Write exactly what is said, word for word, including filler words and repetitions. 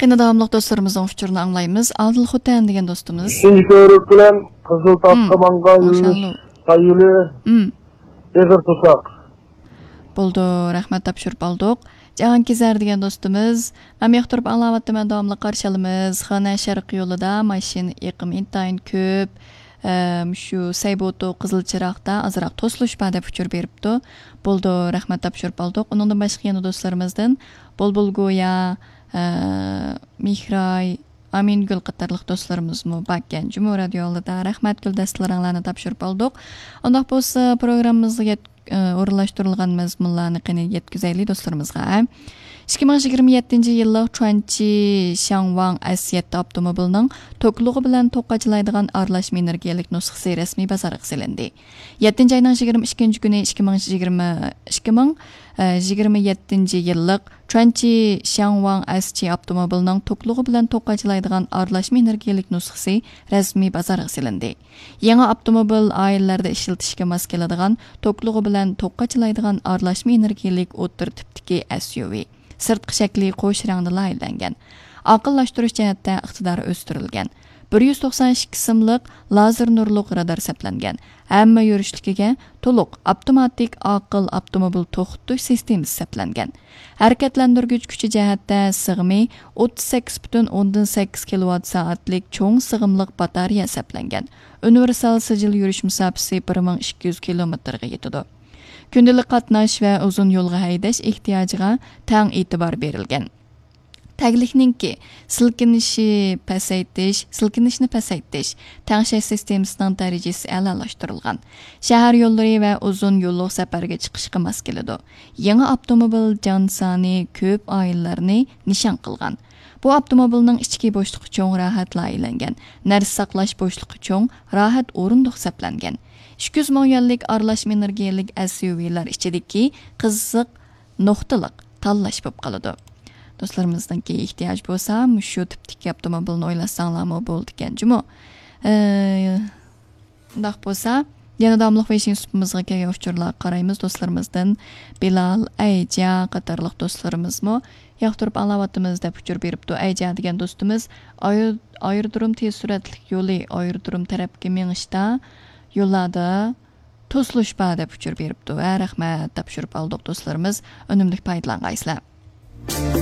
يەنە داۋاملىق دوستلىرىمىزنىڭ ئۇچۇرىنى ئاڭلايمىز. ئادىل خوتەن دېگەن دوستىمىز. ئۈچىنچى كۆۋرۈك بىلەن قىزىل تاغقا مم. ماڭغان يۈرۈش ماشاللا. سايلى مم. ئېغىر توساق. بولدى، رەھمەت، تاپشۇرۇپ ئالدۇق. جاھانكېزەر دېگەن دوستىمىز، مەن ياقتۇرۇپ ئاڭلاۋاتىمەن، داۋاملىق قارشى ئالىمىز. خېنەن شەرق يولىدا ماشىنا ئېقىمى ئىنتايىن كۆپ. ئەم، شۇ سەيبوتۇ قىزىل چىراغدا ئازراق توسۇلۇش بار دەپ ئۇچۇر بېرىپتۇ. بولدى، رەھمەت، تاپشۇرۇپ ئالدۇق. ئۇنىڭدىن باشقا يەنە دوستلىرىمىزدىن بۇلبۇل گويا، ئە، مېھراي، ئامىنگۈل قاتارلىق دوستلىرىمىزمۇ باركەن. جۇمۇ رادىيو ئالدىدا رەھمەت، گۈلدەستىلىرىڭلارنى تاپشۇرۇپ ئالدۇق. ئۇنداق بولسا پروگراممىمىزغا يەت-، ئە، ئورۇنلاشتۇرۇلغان مەزمۇنلارنى قېنى يەتكۈزەيلى دوستلىرىمىزغا. ئىككى مىڭ يىگىرمە يەتتىنچى يىللىق چۇەنچى شياڭۋاڭ ئەس يەتتە ئاپتوموبىلىنىڭ توكلۇقى بىلەن توك قاچىلايدىغان ئارىلاشما ئېنېرگىيەلىك نۇسخىسى رەسمىي بازارغا سېلىندى. يەتتىنچى ئاينىڭ يىگىرمە ئىككىنچى كۈنى ئىككى مىڭ يىگىرمە، ئىككى مىڭ، ئە، يىگىرمە يەتتىنچى يىللىق چۇەنچى شياڭۋاڭ ئەس چى ئاپتوموبىلىنىڭ توكلۇقى بىلەن توك قاچىلايدىغان ئارىلاشما ئېنېرگىيەلىك نۇسخىسى رەسمىي بازارغا سېلىندى. يېڭى ئاپتوموبىل ئائىلىلەردە ئىشلىتىشكە ماس كېلىدىغان توكلۇقى بىلەن توك قاچىلايدىغان ئارىلاشما ئېنېرگىيەلىك ئوتتۇرا تىپتىكى ئەس يۇ ۋى. سىرتقى شەكلى قوش رەڭدە لايىھەلەنگەن. ئاقىللاشتۇرۇش جەھەتتە ئىقتىدارى ئۆستۈرۈلگەن. بىر يۈز توقسان ئىككى سىملىق لازېر نۇرلۇق رادار سەپلەنگەن. ھەممە يۈرۈشلۈكىگە تولۇق ئاپتوماتىك ئاقىل ئاپتوموبىل توختىتىش سىستېمىسى سەپلەنگەن. ھەرىكەتلەندۈرگۈچ كۈچى جەھەتتە سىغىمى ئوتتۇز سەككىز پۈتۈن ئوندىن سەككىز كىلوۋات سائەتلىك چوڭ سىغىملىق باتارېيە سەپلەنگەن. ئۇنىۋېرسال سىجىل يۈرۈش مۇساپىسى بىر مىڭ ئىككى يۈز كىلومېتىرغا يېتىدۇ. كۈندىلىك قاتناش ۋە ئۇزۇن يولغا ھەيدەش ئېھتىياجىغا تەڭ ئېتىبار بېرىلگەن. تەگلىكنىڭكى سىلكىنىشى پەسەيتىش، سىلكىنىشنى پەسەيتىش، تەڭشەش سىستېمىسىنىڭ دەرىجىسى ئەلالاشتۇرۇلغان. شەھەر يوللىرى ۋە ئۇزۇن يوللۇق سەپەرگە چىقىشقا ماس كېلىدۇ. يېڭى ئاپتوموبىل جان سانى كۆپ ئائىلىلەرنى نىشان قىلغان. بۇ ئاپتوموبىلنىڭ ئىچكى بوشلۇقى چوڭ، راھەت لايىھەلەنگەن. نەرسە ساقلاش بوشلۇقى چوڭ، راھەت ئورۇندۇق سەپلەنگەن. ئىككى يۈز مىڭ يۈەنلىك ئارىلاشما ئېنېرگىيەلىك ئەس يۇ ۋىلار ئىچىدىكى قىزىق نۇقتىلىق تاللاش بولۇپ قالىدۇ. دوستلىرىمىزنىڭكى ئېھتىياجى بولسا، مۇشۇ تىپتىكى ئاپتوموبىلنى ئويلاشساڭلارمۇ بولىدىكەن جۇمۇ. ئە، ئۇنداق بولسا، يەنە داۋاملىق ۋېيشىن سۇپىمىزغا كەلگەن ئۇچۇرلارغا قارايمىز. دوستلىرىمىزدىن بىلال، ئەيجا قاتارلىق دوستلىرىمىزمۇ ياقتۇرۇپ ئاڭلاۋاتىمىز دەپ ئۇچۇر بېرىپتۇ. ئەيجا دېگەن دوستىمىز ئاير-، ئايرودروم تېز سۈرئەتلىك يولى، ئايرودروم تەرەپكە مېڭىشتا يوللاردا توسۇلۇش بار دەپ ئۇچۇر بېرىپتۇ. ھە، رەھمەت، تاپشۇرۇپ ئالدۇق دوستلىرىمىز. ئۈنۈملۈك پايدىلانغايسىلەر.